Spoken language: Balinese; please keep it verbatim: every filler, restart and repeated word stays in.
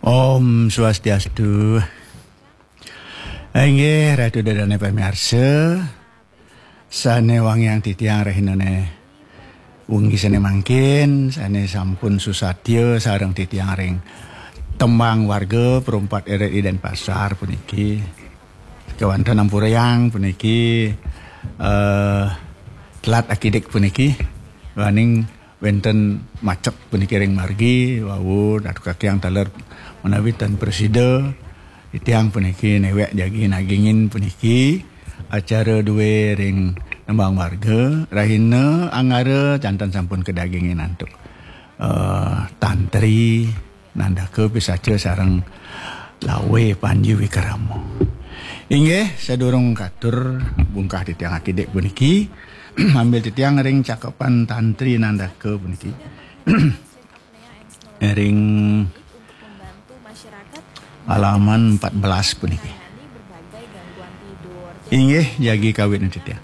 Om Swastiastu. Inggih, Ratu Dadane pamiarsa, sane wangiang titiang rahinane wengi sane mangkin, sane sampun susatya sareng titiang ring tembang warga perumpat R R I Denpasar puniki. Kewanten ampurayang puniki, eh, telat akidik puniki, waning wenten macet puniki ring margi, wau Ratu Kakiang taler menawi tan prasida, titiang puniki newek jagi nagingin puniki acara due ring nembang warga, rahina Anggara janten sampun kadagingin antuk, eh, tantri, nandaka pisacha sareng lawe Panji Wikrama. Inggih, sadurung katur bungkah titiang akidik puniki, ambil titiang ring cakepan tantri nandaka puniki. Ring halaman empat belas puniki. Inggih, jagi kawit titiang.